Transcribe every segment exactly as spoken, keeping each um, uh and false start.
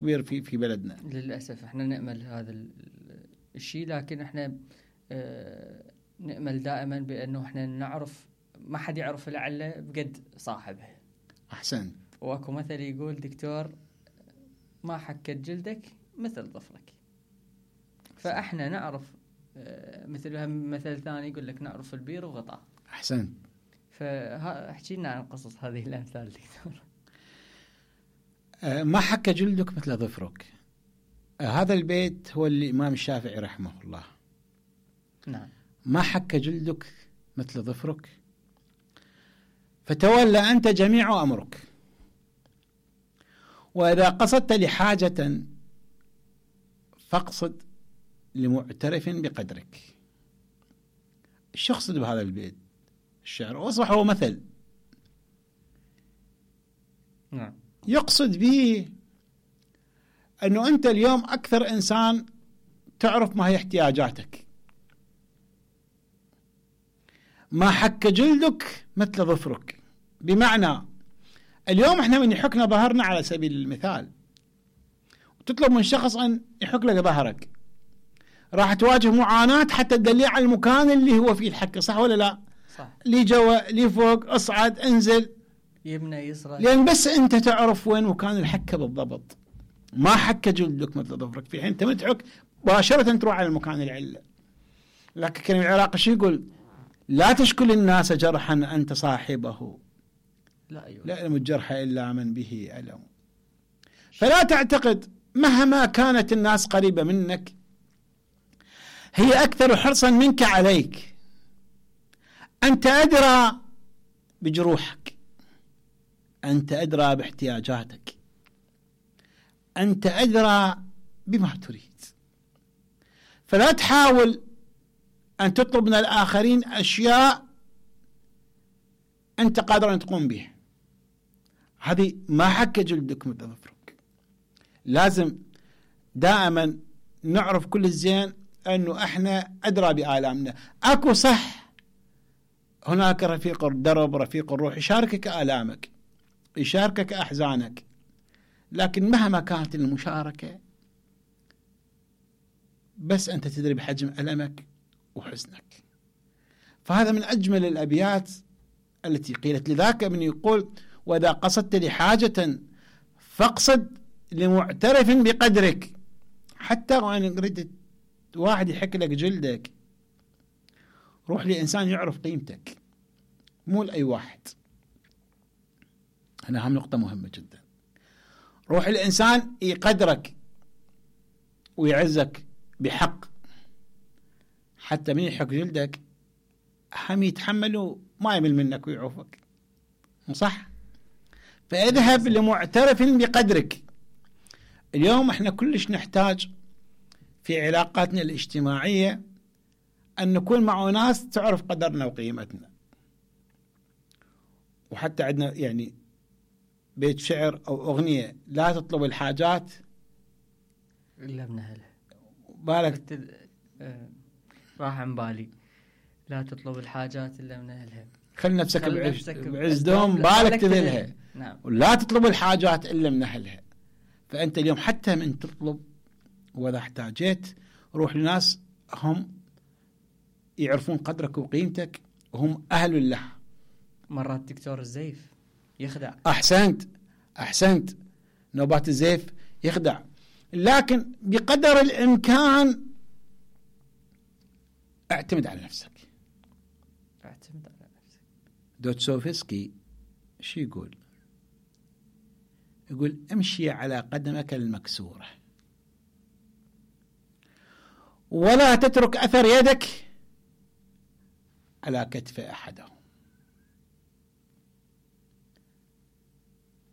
كبير في في بلدنا. للأسف احنا نأمل هذا الشيء، لكن احنا اه نأمل دائما بأنه احنا نعرف ما حد يعرف العلة بقد صاحبه. أحسن. واكو مثل يقول دكتور ما حكت جلدك مثل ظفرك. فاحنا نعرف اه مثل مثل ثاني يقول لك نعرف البير وغطاه. أحسن. فاحكي لنا عن قصص هذه الأمثال دكتور. أه ما حك جلدك مثل ظفرك. أه هذا البيت هو الإمام الشافعي رحمه الله. نعم. ما حك جلدك مثل ظفرك فتولى أنت جميع أمرك، وإذا قصدت لحاجة فاقصد لمعترف بقدرك. ايش يقصد بهذا البيت الشعر؟ واصبح هو مثل. نعم. يقصد به أنه أنت اليوم أكثر إنسان تعرف ما هي احتياجاتك. ما حك جلدك مثل ظفرك، بمعنى اليوم احنا من يحكنا ظهرنا على سبيل المثال وتطلب من شخص أن يحك لك ظهرك، راح تواجه معاناة حتى تدليه على المكان اللي هو فيه الحك، صح ولا لا؟ صح. لي جوا لي فوق، اصعد انزل، يمنى يسرى، لأن بس أنت تعرف وين مكان الحكة بالضبط. ما حك جلدك مثل ظفرك، في حين أنت متحك مباشرة تروح على المكان العلة. لكن كلمة العراقي شو يقول؟ لا تشكل الناس جرحا أنت صاحبه، لا أيوة. لا يلم الجرح إلا من به ألم. فلا تعتقد مهما كانت الناس قريبة منك هي أكثر حرصا منك عليك. أنت أدرى بجروحك، أنت أدرى باحتياجاتك، أنت أدرى بما تريد. فلا تحاول أن تطلب من الآخرين أشياء أنت قادر أن تقوم بها. هذه ما حك جلدك مثل ظفرك. لازم دائما نعرف كل الزين أنه إحنا أدرى بآلامنا. أكو صح هناك رفيق الدرب، رفيق الروح، يشاركك آلامك، يشاركك أحزانك، لكن مهما كانت المشاركة بس أنت تدري بحجم ألمك وحزنك. فهذا من أجمل الأبيات التي قيلت. لذاك من يقول وإذا قصدت لحاجة فاقصد لمعترف بقدرك. حتى وأن قريت واحد يحك لك جلدك، روح لإنسان يعرف قيمتك، مو لأي واحد. هنا هم نقطة مهمة جدا. روح الإنسان يقدرك ويعزك بحق، حتى من يحك جلدك هم يتحملوا ما يمل منك ويعوفك، صح؟ فاذهب لمعترف بقدرك. اليوم احنا كلش نحتاج في علاقاتنا الاجتماعية أن نكون مع ناس تعرف قدرنا وقيمتنا. وحتى عندنا يعني بيت شعر أو أغنية، لا تطلب الحاجات إلا من أهلها. بالك تد... آه... راح عن بالي، لا تطلب الحاجات إلا من أهلها، خل نفسك بعز, بعز دوم بالك تذلها. نعم. ولا تطلب الحاجات إلا من أهلها. فأنت اليوم حتى من تطلب وإذا احتاجت روح لناس هم يعرفون قدرك وقيمتك وهم أهل له. مرات دكتور الزيف يخدع. أحسنت أحسنت نوبات الزيف يخدع، لكن بقدر الإمكان اعتمد على نفسك. اعتمد على نفسك. دوستويفسكي شو يقول؟ يقول امشي على قدمك المكسورة ولا تترك أثر يدك على كتف أحدهم.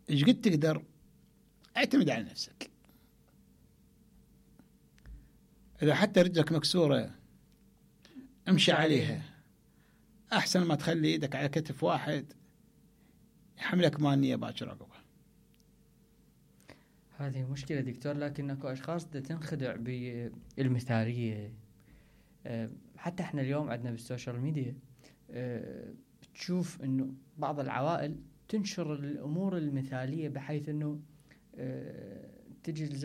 إيش قد تقدر اعتمد على نفسك. إذا حتى رجلك مكسورة امشي عليها، أحسن ما تخلي يدك على كتف واحد يحملك مانية باكر عقبه. هذه مشكلة دكتور، لكن اكو اشخاص تنخدع بالمثالية. حتى احنا اليوم عندنا بالسوشيال ميديا تشوف انه بعض العوائل تنشر الامور المثالية بحيث انه تجي